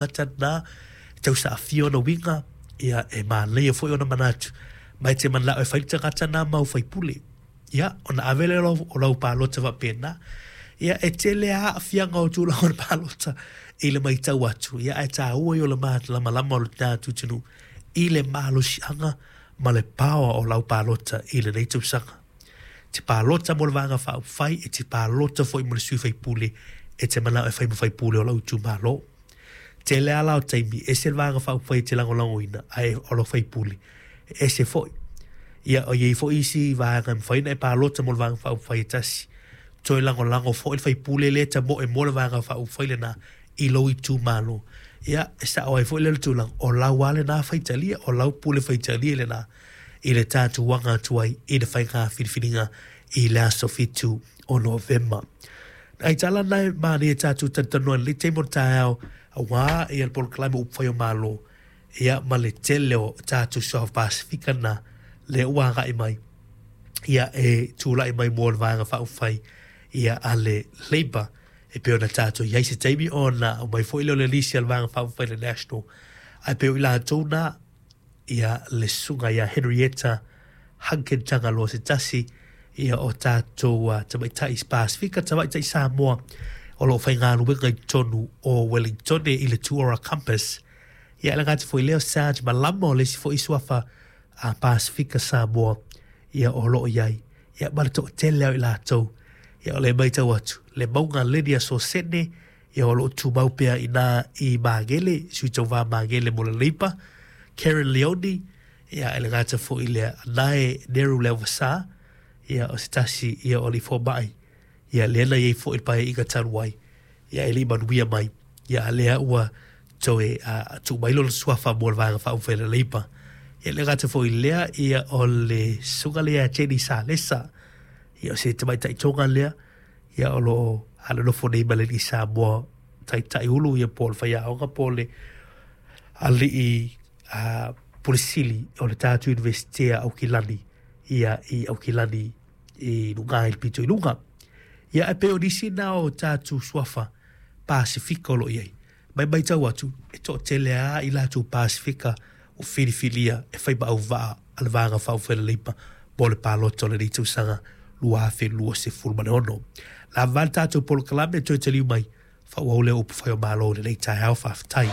Tagata na e tausaafia ona uiga, ia, e manaia foi ona manatu, ma e te manao e fai le tagata na mau faipule. Ia, ona ave lea o lau palota faapena. Ia, e tele lava aafiaga o tulaga o le palota i le matau atu, ia, ae taua ia o le malamalama o le tatou atunuu i le malosiaga ma le power o lau palota i lenei tausaga. E te palota mo le Vaega Faaupufai, e te palota foi mo le sui faipule e te manao e fai ma faipule o lou itumalo. Tele lava la o taimi, ese le Vaega Faaupufai e te lagolagoina, ae o lau faipule, e ese foi. Ia, o i ai foi isi vaega e mafai ona e palota mo le Vaega Faaupufai e tasi, toe lagolago foi le faipule lea e tamoe mo le Vaega Faaupufai lena i lou itumalo. Ia, e sao ai foi lea o le tulaga, o lau lava lena faitalia, o lau pule faitalia lena i le tatou aga atu ai i le faiga filifiliga i le aso 7 o Novema. Nai tala na e manaia tatou talatalanoa i lenei taimi o le taeao aua ia le polokalame o Upufai o Malo ia ma le tele o tatou Suafa Pasefika na lea ua agai mai ia e tulai mai mo le Vaega Faaupufai ia a le Labour e pei ona tatou i ai se taimi ona aumai foi lea o le lisi a le Vaega Faaupufai le National ae pei o i latou na ia le susuga ia Henrietta Hunkin Tagaloa se tasi ia o tatou tamaitai Pasefika, tamaitai Samoa o lo o faigaluega i totonu o Wellingtone i le Tuora Campus. Ia e le gata foi i lea o Sarge Malama o le isi foi suafa a Pasefika Samoa ia o lo o i ai. Ia ma le toatele o i latou. Ia o lea e matau atu, le mauga Lydia Sosene, ia o lo o tumau pea i ina i Magele, sui tauva Magele mo le Labour, Karen Leoni, ia e le gata foi i lea, Anae Neru Leavasa, ia o se tasi ia o alii fomai, ia lea na i ai foi i le Paeaiga talu ai, ia e le i manuia mai, ia a lea ua toe tuu mai lona suafa mo le Vaega Faaupufai a le Labour. Ia e le gata foi i lea, ia o le susuga lea ia Jenny Salesa, ia o se tamaitai Toga lea, ia o lo o alolofa nei ma le alii Samoa taitai ulu ia po o le faiaoga po o le alii Pule Sili o le tatou Iunivesite a Aukilani ia i Aukilani i luga i le pito i luga. Ia ae pei o nisi na o tatou suafa Pasefika o lo o i ai. Ma e matau atu, e toatele lava i latou Pasefika ua filifilia e fai ma auvaa a le Vaega Faaupufai a le Leipa mo le palota o lenei tausaga 2026. Lava le tatou polokalame, toe taliu mai, faaauau lea o upufai o Malo i lenei taeao. Faafetai.